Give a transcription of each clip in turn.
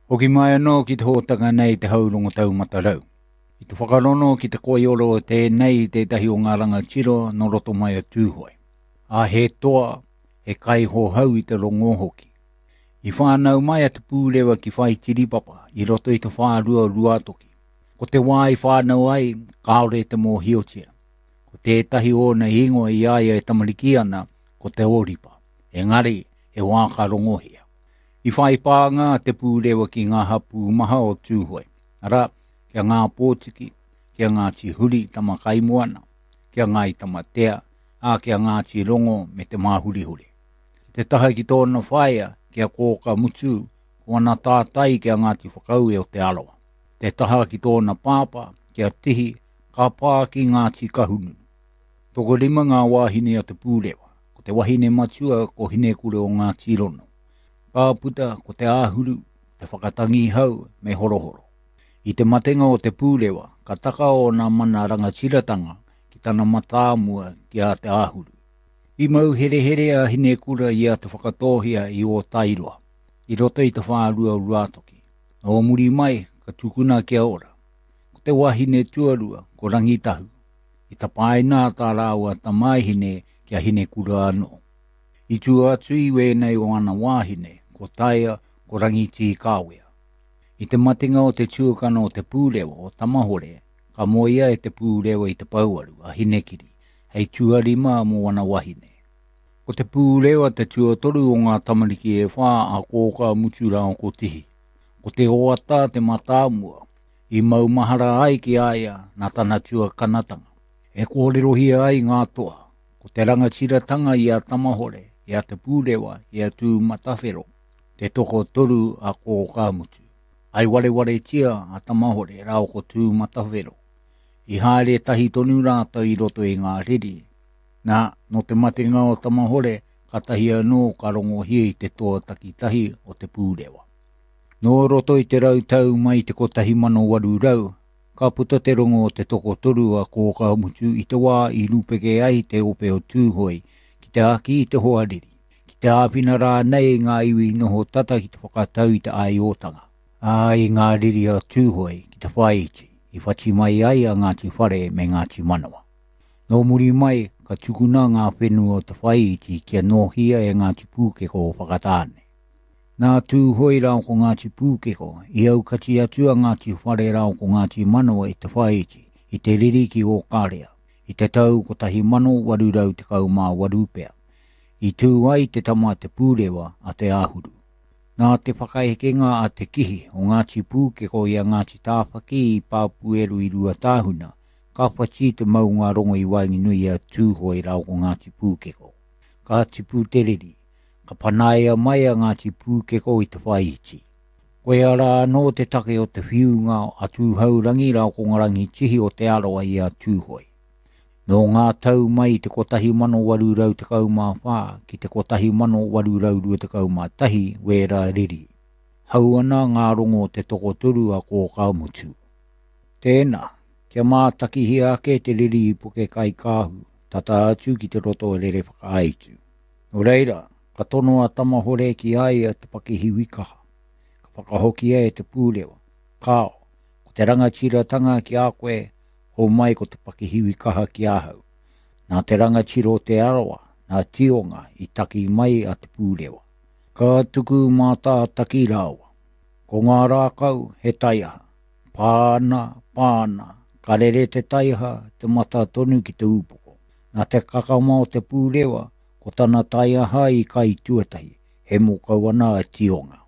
Hoki mai anō ki te hōtaka nei Te Haurongo Taumata Rau. I te whakarono ki te koioro o tēnei i tētahi o ngā rangatira nō roto mai o Tūhoe. Ā, he toa, he kaihohau i te rongō hoki. I whānau mai a Te Pūrewa ki Whaitiripapa i roto i te whārua o Ruātoki. Ko te wā i whānau ai, kāore te mōhiotia. Ko tētahi ōna ingoa i a ia e tamariki ana, ko Te Ōripa. Engari, he wā ka rongohia. I whai pānga a Te Pūrewa ki ngā hapū maha o Tūhoe, arā, ki a Ngā Pōtiki, ki a Ngāti Huri Tamakaimoana, ki a Ngāi Tamatea, ā, ki a Ngāti Rongo me Te Māhurihuri. Ki te taha ki tōna whaea, ki a Kōka Mutu, ko ana tātai ki a Ngāti Whakaue o Te Arawa. Te taha ki tōna pāpā, ki a Tihi, ka pā ki Ngāti Kahungunu. Tokorima ngā wāhine a Te Pūrewa. Ko te wahine matua ko Hinekura o Ngāti Rono. Ka puta ko Te Āhuru, Te Whakatangihau me Horohoro. I te matenga o Te Pūrewa, ka taka ōna mana rangatiratanga ki tana matāmua ki a Te Āhuru. I mau herehere a Hinekura i a Te Whakatōhea i Ōtairoa, i roto i te whārua o Ruātoki. Nō muri mai, ka tukuna kia ora. Ko te wahine tuarua, ko Rangitahu. I tapaina tā rāua tamāhine ki a Hinekura anō. I tua atu i wēnei o ana wāhine, ko Taia, ko Rangitīkāwea. I te matenga o te tuakana o Te Pūrewa, o Tamahore, ka moea e Te Pūrewa i te pouaru, a Hinekiri, hei tuarima mō ana wahine. Ko Te Pūrewa te tuatoru o ngā tamariki e whā a Kōkā Mutu rāua ko Tihi. Ko Te Oata te mātāmua, i maumahara ai ki a ia nā tana tuakanatanga. E kōrerohia ai ngā toa, ko te rangatiratanga i a Tamahore, i a Te Pūrewa, i a Tūmatawhero, te tokotoru a Kōkāmutu. I warewaretia a Tamahore rāua ko Tūmatawhero. I haere tahi tonu rātou i roto i ngā riri. Nā, nō te matenga o Tamahore, kātahi anō ka rongohia i te toa takitahi o Te Pūrewa. Nō roto i te rautau mai i te 1800, ka puta te rongo o te tokotoru a Kōkāmutu i te wā i rūpeke ai te ope o Tūhoe ki te āki i te hoariri, ki te āwhina rānei i ngā iwi noho tata ki te whakatau i te āiotanga, ā, i ngā riri a Tūhoe ki te whāiti i whati mai ai a Ngāti Whare me Ngāti Manawa. Nō muri mai, ka tukuna ngā whenua o te whāiti kia nōhia e Ngāti Pūkeko o Whakatāne. Nā Tūhoe rāua ko Ngāti Pūkeko i aukati atu a Ngāti Whare rāua ko Ngāti Manawa i Te Whāiti, i te riri ki Ōkarea, i te tau 1818 pea. I tū ai te tama a Te Pūrewa, a Te Āhuru. Nā te whakaekenga a Te Kihi o Ngāti Pūkeko i a Ngāti Tāwhaki i Pāpūeru i Ruatāhuna, ka whati te maungārongo i waenganui i a Tūhoe rāua ko Ngāti Pūkeko. Ka tipu te riri, Ka panaia mai a Ngāti Pūkeko i Te Whāiti. Koia rā anō te take o te whiunga a Tūhourangi rāua ko Ngā Rangitihi o Te Arawa i a Tūhoe. Nō ngā tau mai i te 1814 ki te 1821 wērā riri. Hau ana ngā rongo o te tokotoru a Kōkāmutu. Tēnā, kia mātakihia ake te riri i Pukekaikāhu, tata atu ki te roto o Rerewhakaaitu. Nō reira, ka tono a Tamahore ki a ia te pakihiwi kaha. Ka whakahokia e Te Pūrewa, Kāo, ko te rangatiratanga ki a koe, homai ko te pakihiwi kaha ki ahau. Nā te rangatira o Te Arawa, nā Tionga, i taki mai a Te Pūrewa. Ka tuku mātātaki rāua. Ko ngā rākau, he taiaha. Pā ana, pā ana, ka rere te taiaha, te mata tonu ki te ūpoko. Nā te kakama o Te Pūrewa, ko tana taiaha i kai tuatahi, hemo kau ana a Tionga.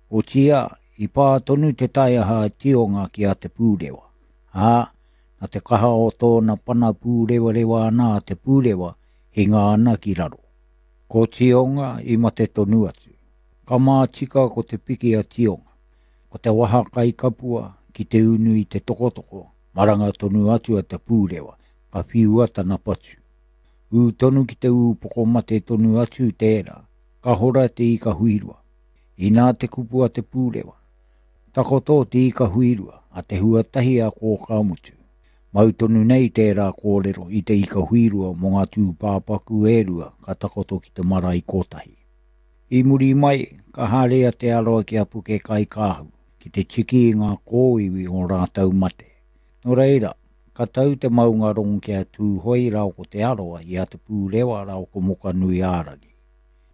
Otiia, i pā tonu te taiaha a Tionga ki a Te Pūrewa, ā, nā te kaha o tōna pana pūrewarewa ana a Te Pūrewa, hinga ana ki raro. Ko Tionga i mate tonu atu. Ka mātika ko te piki a Tionga, ko te waha kai kapua ki te unu i te tokotoko, maranga tonu atu a Te Pūrewa, ka whiua tana patu. Ū tonu ki te ūpoko mate tonu atu tērā, ka hora te ika huirua. Inā te kupu a Te Pūrewa, Takoto te ika huirua, a te huatahi a Kōkāmutu. Mau tonu nei tērā kōrero i te ika huirua mō ngā tūpāpaku e rua ka takoto ki te marae kotahi. I muri mai, ka haere a Te Arawa ki a Pukekaikāhu. ki te tiki i ngā kōiwi o rātou mate. Nō reira, ka tau te maungarongo ki a Tūhoe rāo ko Te Arawa i a Te Pūrewa rāo ko Mokanui-ā-rangi.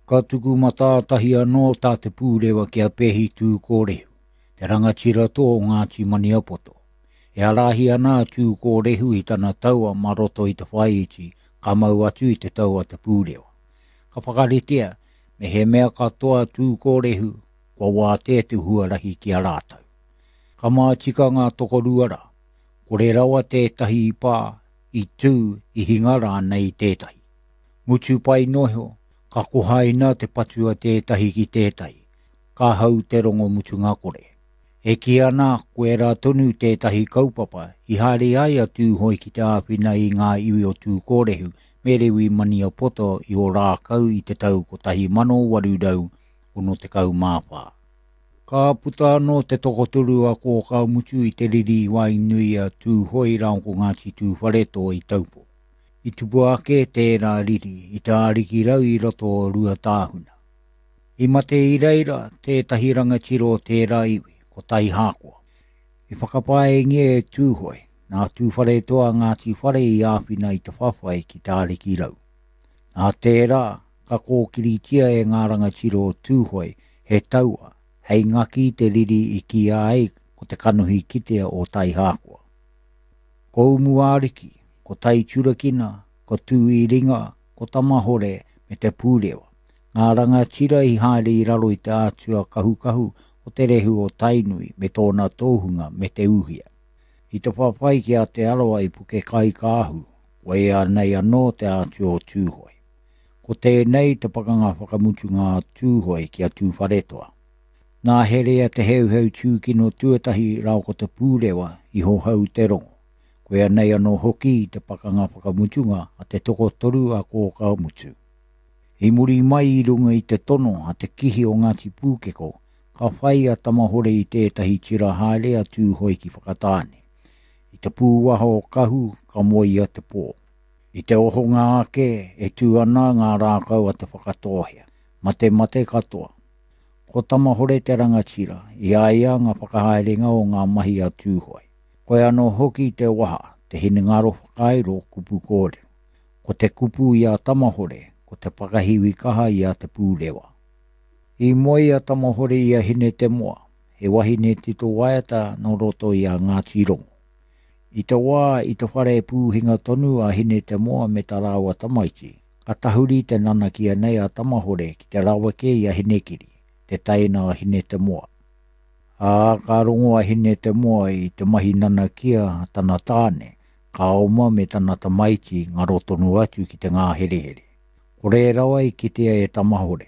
Ka tuku matātahi anō tā Te Pūrewa ki a Pehi Tūkōrehu, te rangatira toa o Ngāti Maniapoto. E ārahi ana a Tūkōrehu i tana taua mā roto i Te Whāiti ka mau atu i te tau a Te Pūrewa. Ka whakaritea, me he mea katoa a Tūkōrehu, kua wātea te huarahi ki a rātou. Ka mātika ngā tokorua rā, kore rawa tētahi i pā, i tū, i hinga rānei i tētahi. Mutu pai noa iho, ka kohaina te patu a tētahi ki tētahi, ka hau te rongo mutunga kore. E kī ana koirā tonu tētahi kaupapa i haere ai a Tūhoe ki te āwhina i ngā iwi o Tūkōrehu me Rewi Maniapoto i Ōrākau i te tau 1864. Ka puta anō te tokotoru a Kōkāmutu i te riri i waenganui i a Tūhoe rāua ko Ngāti Tūwharetoa i Taupō. I tupu ake tērā riri i te Ārikirau i roto o Ruatāhuna. I mate i reira tētahi rangatira o tērā iwi, ko Taihākoa. I whakapaengia e Tūhoe, nā Tūwharetoa a Ngāti Whare i āwhina i te whawhai ki Te Arikirau. Nā tērā, ka kōkiritia e ngā rangatira o Tūhoe he taua hei ngaki i te riri i kīia ai ko te kanohi kitea o Taihākoa. Ko Umuariki, ko Taiturakina, ko Tūiringa, ko Tamahore me Te Pūrewa. Ngā rangatira i haere i raro i te ātua kahukahu o te rehu o Tainui me tōna tōhunga me Te Uhia. I te whawhai ki a Te Arawa i Pukekaikāhu, koia nei anō te ātua o Tūhoe. Ko tēnei te pakanga whakamutunga a Tūhoe ki a Tūwharetoa. Nā Herea Te Heuheu Tūkino tuatahi rāo ko Te Pūrewa i hohou te rongo. Koia nei anō hoki te pakanga whakamutunga a te tokotoru a Kōkāmutu. I muri mai i runga i te tono a te kihi o Ngāti Pūkeko, ka whai a Tamahore i tētahi tira haere a Tūhoe ki Whakatāne. I te pūwaha o Kahu ka moe ia te pō. I te ohonga ake e tū ana ngā rākau a Te Whakatōhea, matemate katoa. Ko Tamahore te rangatira, i a ia ngā whakahaerenga o ngā mahi a Tūhoe. Koe anō hoki te waha, te hinengaro whakairo kupu kōrero. Ko te kupu i a Tamahore, ko te whakahiwi kaha i a Te Pūrewa. I moe a Tamahore i a Hinetemoa, he wahine tito waiata nō roto i a Ngāti Rongo. I te wā i te whare pūhinga tonu a Hinetemoa me tā rāua tamaiti, ka tahuri te nanakia nei a Tamahore ki te raweke i a Hinekiri, te teina a Hinetemoa. Ā, ka rongo a Hinetemoa i te mahi nanakia a tana tāne, Ka oma me tana tamaiti ngaro tonu atu ki te ngāherehere. Kore rawa i kitea e Tamahore.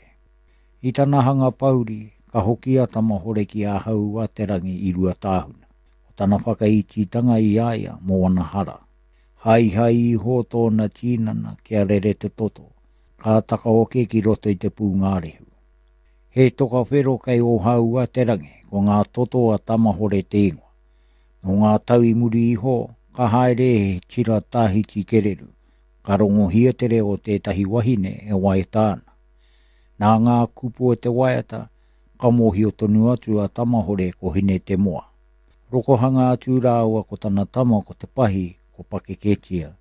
I tana hanga pouri, ka hoki a Tamahore ki a Hau-a-te-rangi i Ruatāhuna, ko tana whakaititanga i a ia mō ana hara. Haihai iho tōna tīnana kia rere te toto, ka takaoke ki roto i te pūngārehu. He toka whero kei Ōhau-a-te-rangi, ko ngā toto a Tamahore te ingoa. Nō ngā tau i muri iho, ka haere he tira tāhiti kereru, ka rongohia te reo o tētahi wahine e waiata ana. Nā ngā kupu o te waiata, ka mōhio tonu atu a Tamahore ko Hinetemoa. Rokohanga atu rāua ko tana tama ko Te Pahi, ko Pakeketia.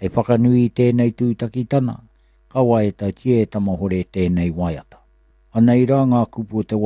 Hei whakanui i tēnei tūtakitana, ka waiatatia e Tamahore tēnei waiata. Anei rā ngā kupu o te waiata.